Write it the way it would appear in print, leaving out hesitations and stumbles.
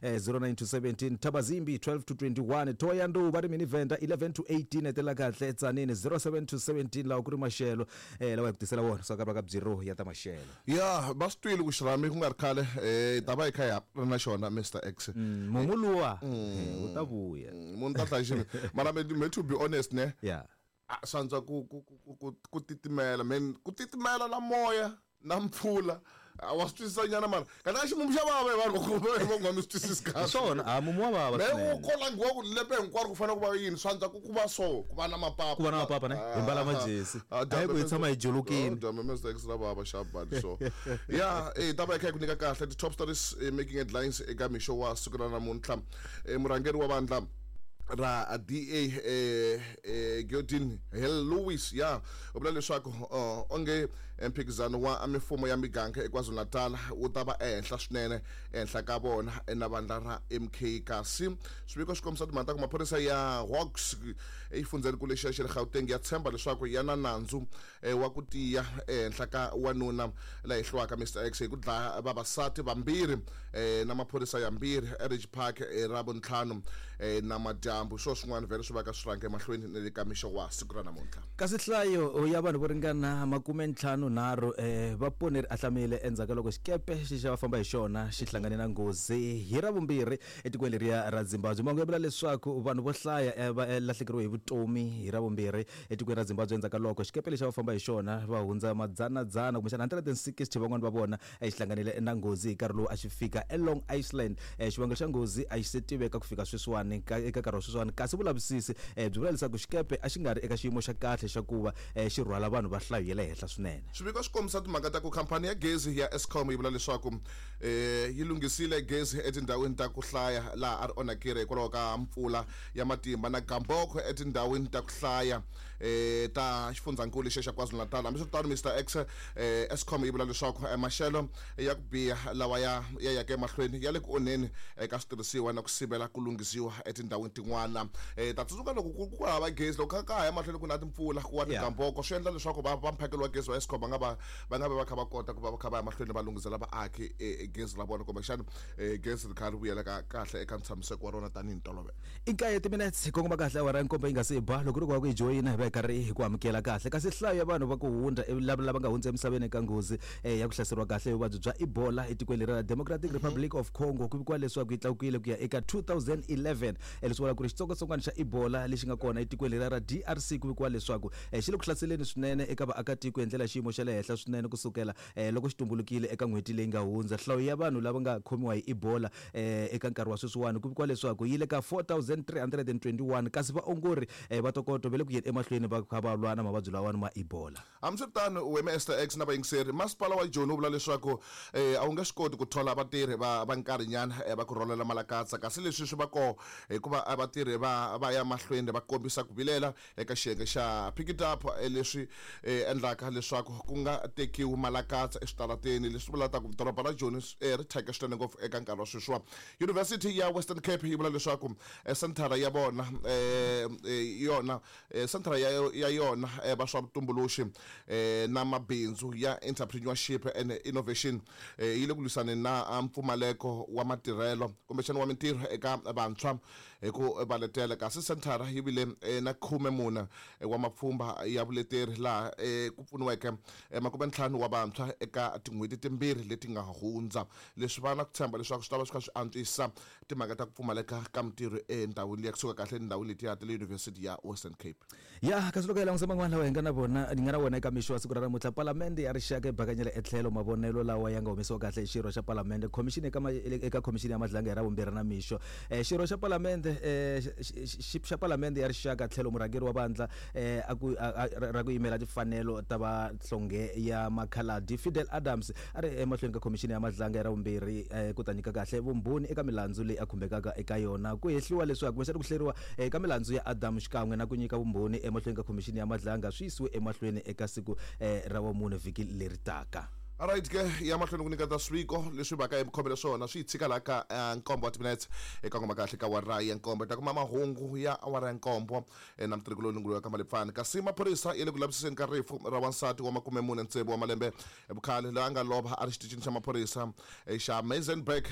09 to 17, Thabazimbi 12 to 21, Thohoyandou va ri mini Venda 11 to 18, hetelela kahle Tzaneen 07 to 17, lawa ku ri maxelo lawa hi ku tisela wona swa ka bureau ya ta maxelo. Ya va swi twile ku xirhami ku nga ri khale hi ta va hi kha hi ri na xona Mr X. Mumu luwa wu ta vuya. Munhu ta hlaya xini mara me to be honest ne. Yeah. Swantswa ku ku ku ku ku titimela man, ku titimela na moya na mpfula wa swi twisisa nyana mara kanti a ximumu xa vava hi vanhu va nga mi swi twisisi kahle. Swona a mumu wa vava me u kolangiwa ku lembe hinkwaro ku fanele ku va yini swantswa ku ku va so ku va na mapapa ku va na mapapa ne hi mbala majesi a yi ku hi tshama hi jolokini dyambe Mr X ra vava xa badi so ya eh ta va kha ku nyika kahle ti top stories making headlines eka mixo wa siku ra namuntlha. Murhangeri wa vandla ra DA Geordin Hill-Lewis ya u vula leswaku onge mphikizano wa mifumo ya miganga eKwaZulu-Natal wu ta va ehenhla swinene ehenhla ka vona na vandla ra MK. Kasi swiviko swi kombisa timhaka ta ku maphorisa ya Hawks exifundzhenikulu lexiya xa le Gauteng ya tshemba leswaku ya na nandzu wa ku tiya ehenhla ka wanuna la hehliwaka Mr X hi ku dlaya vavasati vambirhi na maphorisa yambirhi eRidge Park hi Ravuntlhanu namadyambu. Hi swona swin'wana vhele swi vaka swi rhange emahlweni na le ka mixo wa siku ra namuntlha. Kasi nhlayo ya vanhu vo ringana makumentlhanu-nharhu va pone ri ahlamile endzhaku ka loko xikepe xi xa va famba hi xona xi hlangane na nghozi hi Ravumbirhi etikweni leriya ra Zimbabwe. Mahungu ya vula leswaku vanhu vo hlaya va lahlekeriwe hi vutomi hi Ravumbirhi etikweni ra Zimbabwe endzhaku ka loko xikepe lexi a va famba hi xona va hundza madzana-dzana kumbexana 160 van'wana va vona xi hlanganile na nghozi hi nkarhi lowu a xi fika eLong Island. Xivangelo xa nghozi a xi se tiveka ku fika sweswiwani eka nkarhi wa sweswiwani kasi vulavisisi byi vula leswaku xikepe a xi nga ri eka xiyimo xa kahle xa kuva xi rhwala vanhu va nhlayo ya le henhla swinene. Swiviko swi kombisa timhaka ta ku khampani ya gezi ya Eskom yi vula leswaku yi lunghisile gezi etindhawini ta ku hlaya laha a ri onhakile hikwalaho ka mpfula ya matimba na gamboko etindhawini ta ku hlaya ta xifundzankulu lexiya xa KwaZulu-Natal. Hambiswiritano, Mister X, Eskom yi vula leswaku maxelo ya ku biha lawa ya ya yaka emahlweni ya le ku onheni eka switirhisiwa na ku sivela ku lunghisiwa etindhawini tin'wana. Ta tsundzuka loko ku ku hava gezi loko ka ha ya mahlweni ku na timpfula ku wa tigamboko swi endla leswaku va va mphakelo wa gezi wa Eskom va nga va va nga vi va kha va kota ku va va kha va ya mahlweni va lunghisela vaaki gezi ra vona kumbexana gezi ri kha ri vuyela ka kahle eka ntshamiseko wa rona tanihi ntolovelo. I nkaye timinetse hi kongoma kahle awara ya nkombo yi nga se ba. Loko ri ku va ku yi joyina hi va hi karhi hi ku amukela kahle. Kasi nhlayo ya vanhu va ku hundza lava lava nga hundza emisaveni eka nghozi ya ku hlaseriwa kahle hi vuvabyi bya Ebola etikweni leri ra Democratic Republic of Congo ku vikiwa leswaku yi tlakukile ku ya eka 2011. Leswi vulaka ku ri xitsongwatsongwana xa Ebola lexi nga kona etikweni leriya ra DRC ku vikiwa leswaku xi le ku hlaseleni swinene eka vaakatiko hi ndlela ya xiyimo xa le henhla swinene ku sukela loko xi tumbulukile eka n'hweti leyi nga hundza. Nhlayo ya vanhu lava nga khomiwa hi Ebola eka nkarhi wa sweswiwani ku vikiwa leswaku yi le ka 4,321 kasi vaongori va tokoto va le ku yeni emahlweni va kha va lwa na mavabyi lawawani ma Ebola. Hambiswiritano, wena Esther X na vayingiseri, masipala wa Joni wu vula leswaku a wu nge swi koti ku thola vatirhi va va nkarhinyana va ku rholela malakatsa kasi leswi swi va kona hikuva vatirhi va va ya mahlweni va kombisa ku vilela eka xiyenge xa Pick It Up leswi endlaka leswaku ku nga tekiwi malakatsa eswitarateni leswi vulaka ku doroba ra Joni ri thyake swinene ngopfu eka nkarhi wa sweswiwa. Yunivhesiti ya Western Cape yi vula leswaku senthara ya vona yona senthara ya ya yona va swa vutumbuluxi na mabindzu ya Entrepreneurship and Innovation yi le ku lwisaneni na mpfumaleko wa matirhelo kumbexana wa mintirho eka vantshwa hi ku va letela. Kasi senthara yi vile na 14 wa mapfhumba ya vuleteri laha ku pfuniweke 50 wa vantshwa eka tin'hweti timbirhi leti nga hundza. Leswi va na ku tshemba leswaku swi ta va swi kha swi antswisa timhaka ta ku pfumaleka ka mintirho endhawini liya kusuka kahle etindhawini letiya ta le Yunivhesiti ya Western Cape. Ya, kasi loko hi langusa man'wana lawa hi nga na vona hi nga na wona eka mixo wa siku ra namuntlha, Palamende ya Rixaka yi bakanyela etlhelo mavonelo lawa ya nga humesiwa kahle hi xirho xa Palamende Khomixini eka eka Khomixini ya Madlanga hi Ravumbirhi na mixo. Xirho xa Palamende xa Palamende ya Rixaka tlhelo murhangeri wa vandla a ku ra ku yimela timfanelo ta vahlonge ya makhaladi Fidel Adams a ri emahlweni ka Khomixini ya Madlanga hi Ravumbirhi ku ta nyika kahle vumbhoni eka milandzu leyi a khumbekaka eka yona. Ku hehliwa leswaku kumbexana ku hleriwa eka milandzu ya Adam xikan'we na ku nyika vumbhoni emahlweni ka Khomixini ya Madlanga swi yisiwe emahlweni eka siku ra vumune vhiki leri taka. Alright ke, ya mahlweni ku nyiketa swiviko leswi vaka hi khomele swona swi hi tshika laha ka nkombo wa timinetse eka ngoma kahle ka awara ya nkombo. Hi ta kuma mahungu ya awara ya nkombo na mutirhi loyi lunguluka ka Malepfani. Kasi maphorisa ya le ku lavisiseni ka rifu ra wansati wa 46 wa malembe hi vukhale loyi a nga lova a ri xitichini xa maphorisa xa Maizenberg